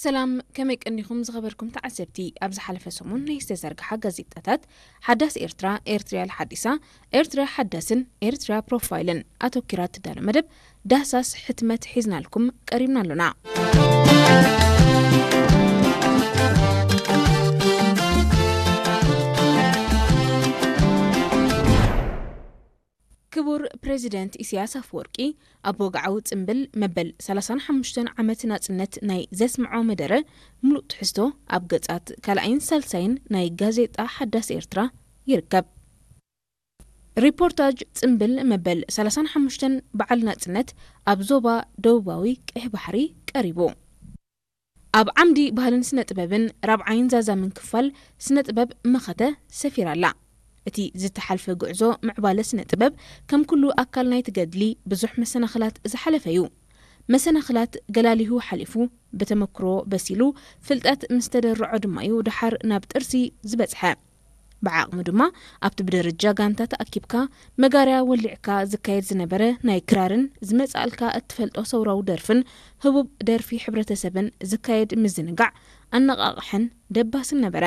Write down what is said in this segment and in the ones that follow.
ሰላም፣ ከመይ ቀኒኹም ዝኸበርኩም ተዓዘብቲ? ኣብ ዝሓለፈ ሰሙን ናይ ዝተዘርግሓ ጋዜጣታት ሓዳስ ኤርትራ፣ ኤርትርያ ሓዲሳ፣ ኤርትርያ ሓዳስን ኤርትርያ ፕሮፋይልን ኣተኪራ እትዳሎ መደብ ዳህሳስ ሕትመት ሒዝናልኩም ቀሪብና ኣሎና። ክቡር ፕሬዚደንት ኢሳያስ ኣፈወርቂ ኣብ ወግዓዊ ጽምብል መበል ሰላሳን ሓሙሽተን ዓመት ናጽነት ናይ ዘስምዖ መደረ ምሉእ ትሕዝቶ ኣብ ገጻት ካልኣይን ሳልሳይን ናይ ጋዜጣ ሓዳስ ኤርትራ ይርከብ። ሪፖርታጅ ጽምብል መበል ሰላሳን ሓሙሽተን በዓል ናጽነት ኣብ ዞባ ደቡባዊ ቀይሕ ባሕሪ ቀሪቡ። ኣብ ዓምዲ ባህልን ስነ ጥበብን ራብዓይን ዛዛምን ክፋል ስነ ጥበብ መኸተ ሰፊራ ኣላ። እቲ ዝተሓልፈ ጉዕዞ ምዕባለ ስነ ጥበብ ከም ኩሉ ኣካል ናይቲ ገድሊ ብዙሕ መሰናኽላት ዝሓለፈ እዩ። መሰናኽላት ገላሊሁ ሓሊፉ፣ ብተመክሮ በሲሉ፣ ፍልጠት ምስ ተደርዖ ድማ እዩ ደሓር ናብ ጥርሲ ዝበጽሐ። ብዓቕሙ ድማ ኣብቲ ብደረጃ ጋንታ ተኣኪብካ መጋርያ ወሊዕካ ዝካየድ ዝነበረ ናይ ክራርን ዝመጽኣልካ እትፈልጦ ሰውራዊ ደርፍን ህቡብ ደርፊ ሕብረተሰብን ዝካየድ ምዝንጋዕ ኣነቓቕሕን ደባስን ነበረ።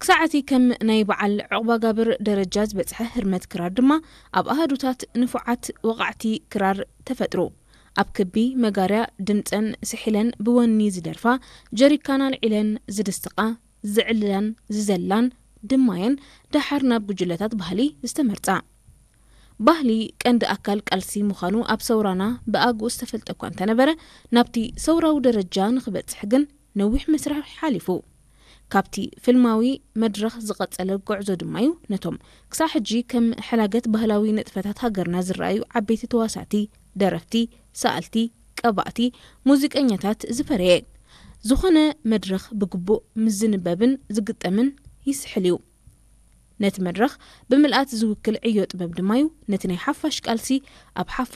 ክሳዕ እቲ ከም ናይ በዓል ዑቕባጋብር ደረጃ ዝበጽሐ ህርመት ክራር ድማ ኣብ ኣሃዱታት ንፉዓት ወቓዕቲ ክራር ተፈጥሩ። ኣብ ክቢ መጋርያ ድምጸን ስሒለን ብወኒ ዝደርፋ፣ ጀሪካን ኣልዒለን ዝድስቃ፣ ዝዕልላን ዝዘላን ድማየን ደሓር ናብ ጉጅለታት ባህሊ ዝተመርጻ። ባህሊ ቀንዲ ኣካል ቃልሲ ምዃኑ ኣብ ሰውራና ብኣግኡ ዝተፈልጠ እኳ እንተነበረ፣ ናብቲ ሰውራዊ ደረጃ ንኽበጽሕ ግን ነዊሕ መስርሕ ሓሊፉ። ካብቲ ፍልማዊ መድረኽ ዝቐጸለ ጉዕዞ ድማ እዩ ነቶም ክሳዕ ሕጂ ከም ሕላገት ባህላዊ ንጥፈታት ሃገርና ዝረኣዩ ዓበይቲ ተዋሳእቲ፣ ደረፍቲ፣ ሰኣልቲ፣ ቀባእቲ፣ ሙዚቀኛታት ዝፈረየ። ዝኾነ መድረኽ ብግቡእ ምስ ዝንበብን ዝግጠምን ይስሕል እዩ። ነቲ መድረኽ ብምልኣት ዝውክል ዕዮ ጥበብ ድማ እዩ ነቲ ናይ ሓፋሽ ቃልሲ ኣብ ሓፋሽ